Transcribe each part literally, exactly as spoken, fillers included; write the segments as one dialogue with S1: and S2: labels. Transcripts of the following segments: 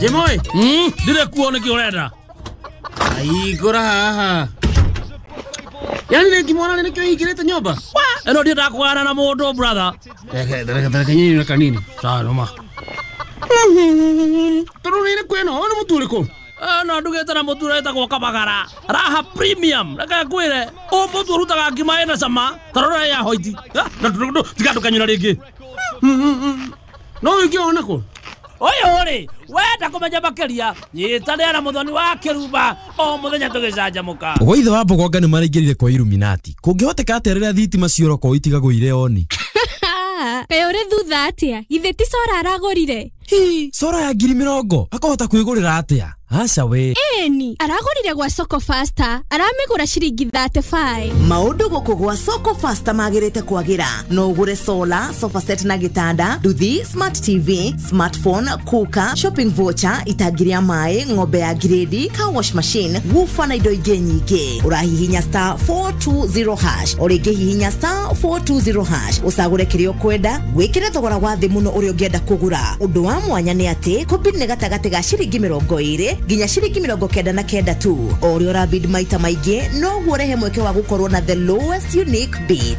S1: Jimoi, mm, ndire kuo niki urenda. Aigura haha. Yani nikimwona nikio ingirite nyumba. Eno ndienda kugana na mundu brother. Reke reke reke nyinyi na kanini. Sawa noma. Turu nini kweno ono mutu uriku? No ndugite na mutu uretagwo Kabagara. Raha premium. Reke ngwire o mutu urutaga ngima ina cama. Tarora ya hoiti. Na tiga ndukanyura ringi. No ingiona ku? Oyo ri wenda kumenya makiria nyitanĩra na Muthoni wa Kĩrumba o muthenya tũgĩcanjamũka.
S2: Gwa ithe wa Mbogonga nĩ maraingĩrire kwa Illuminati. Kũngĩhoteka atĩa rĩrĩa thitima ciora kwao itigagũire oni?
S3: Kaĩ ũrĩ thutha atĩa? Githĩ ti cora aragũrire?
S2: Hi, cora ya ngiri mĩrongo akahota kwĩgũrĩra atĩa? Aca we.
S3: Ĩni, aragũrire gwa Soko Faster, aramĩgũra ciringi thirty five.
S4: Maũndũ gũkũ gwa Soko Faster magĩrĩte kwagĩra. No ũgũre solar, sofa set na gĩtanda, nduthi, smart T V, smartphone, cooker, shopping voucher, itangi rĩa maĩ, ng'ombe ya grade, car wash machine, woofer na indo ingĩ nyingĩ. Ũrahihinya star four two zero hash, o rĩngĩ hihinya star four two zero hash, ũcagũre kĩrĩa ũkwenda, wĩkĩre thogora wa thĩ mũno ũrĩa ũngĩenda kũgũra. Ũndũ wa mwanya nĩ atĩ kũbid nĩ gatagatĩ ga ciringi mĩrongo ĩrĩ nginya ciringi mĩrongo kenda na kenda tu. O ũrĩa ũrabid maita maingĩ noguo ũrehe mweke wa gũkorwo na the lowest unique bid.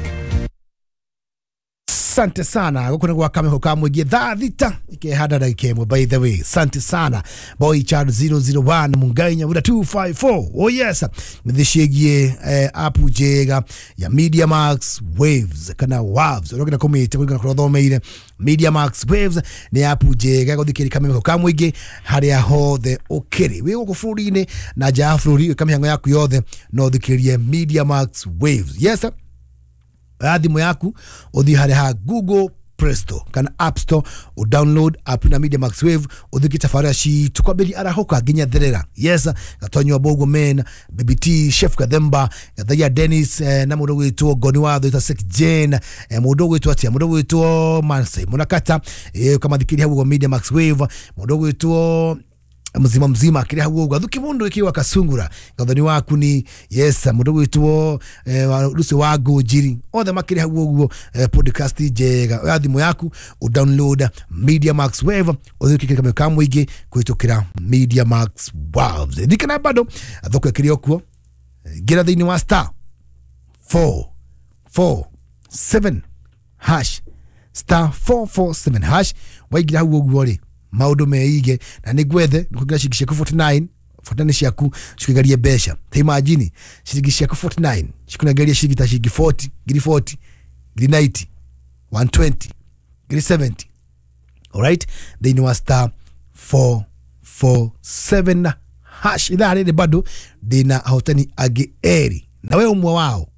S5: Sante sana guku nĩ gwa Kamĩhũ ka mũingĩ thaa thita ikĩhanda ndagĩka ĩmwe. By the way, sante sana Boy Child zero zero one Mungai Nyawira two five four. Oh yes, mĩthĩ ciĩgiĩ eh, app njega ya Media Max Waves kana Waves ũrĩa kũmĩte kũringana kũrĩa ũthomeire. Media Max Waves nĩ app njega gũthikĩrĩria Kamĩhũ ka mũingĩ harĩa hothe ũkĩrĩ, wĩ gũkũ bũrũri-inĩ na nja ya bũrũri, wĩka mĩhang'o yaku yothe no ũthikĩrĩrie Media Max Waves. Yes, oya thimũ yaku ũthiĩ harĩa ha Google Play Store kana App Store u download app na Media Max Wave ũthikie tabarĩra citũ kwambĩrĩria arahũka nginya therera. Yes, Gatonyo Bogo Men, B B T, Chef Kathemba, Gathaia Dennis eh, na mũndũ gwĩtwo Ngoni Watho ita Six Jane, eh, mũndũ gwĩtwo atia, mũndũ gwĩtwo Manse Munakata, eh, ũkamathikĩria hau ũguo Media Max Wave, mũndũ gwĩtwo mzima mzima kiri hau ũguo thuki mundu ikiwa kasungura gathoni waku ni yes mundu gwitwo eh, Lucy wa Ngũnjiri othe makiri hau ũguo eh, podcast njega. Oya thimũ yaku u download Media Max Wave ũthikĩrĩrie Kamĩhũ ka mũingĩ kũhĩtũkĩra Media Max Waves. Thikana bado thoko ĩkĩrĩ o kuo, ngĩra thĩinĩ wa star four four seven hash star four four seven hash waingĩra hau ũguo rĩ maundu meige na nĩ ngwethe nĩkũingĩra ciringi ciaku forty nine forty nine ciaku cikũigarie mbeca. Ta imagine ciringi ciaku forty nine cikũnengeria ciringi ta ciringi forty ngiri forty ngiri ninety one twenty ngiri seventy. Alright, thĩinĩ wa star four four seven hash. Ithaa rĩrĩ bado ndĩna ahotani angĩ erĩ na we ũmwe wao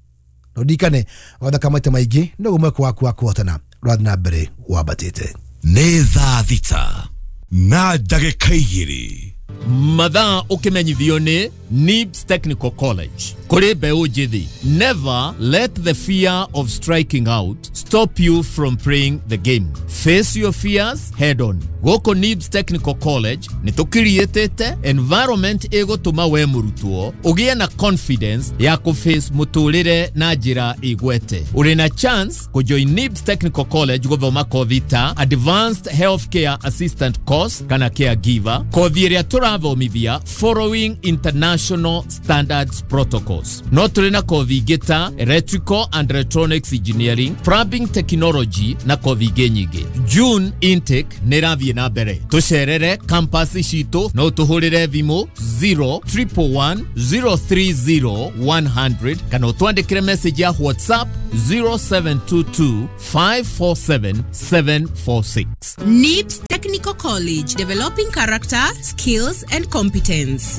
S5: na ũririkane wathaka maita maingĩ noguo mweke waku wa kũhotana ũrathiĩ na mbere wambatĩte.
S6: Nĩ thaa thita na ndagĩka igĩrĩ.
S7: Mathaa ũkĩmenyithio nĩ Nibs Technical College. Kũrĩ mbeũ njĩthĩ, never let the fear of striking out stop you from playing the game. Face your fears head on. Gũkũ Nibs Technical College nĩ tũkiriĩtĩte environment ĩgũtũma we mũrutwo ũgĩe na confidence ya kũface mũtũrĩre na njĩra ĩgwete. Ũrĩ na chance kũjoin Nibs Technical College gũthoma kothi ta Advanced Healthcare Assistant Course kana Caregiver, kothi ĩrĩa tũrathomithia following international standards protocols. No tũrĩ na kothi ingĩ ta Electrical and Electronics Engineering, Plumbing Technology na kothi ingĩ nyingĩ. June intake nĩ ĩrathiĩ na mbere. Tũcerere campus citũ no tũhũrĩre thimũ zero triple one zero three zero one hundred kana ũtwandĩkĩre message ya WhatsApp zero seven two two five four seven seven four six.
S8: Nibs Technical College, developing character, skills and competence.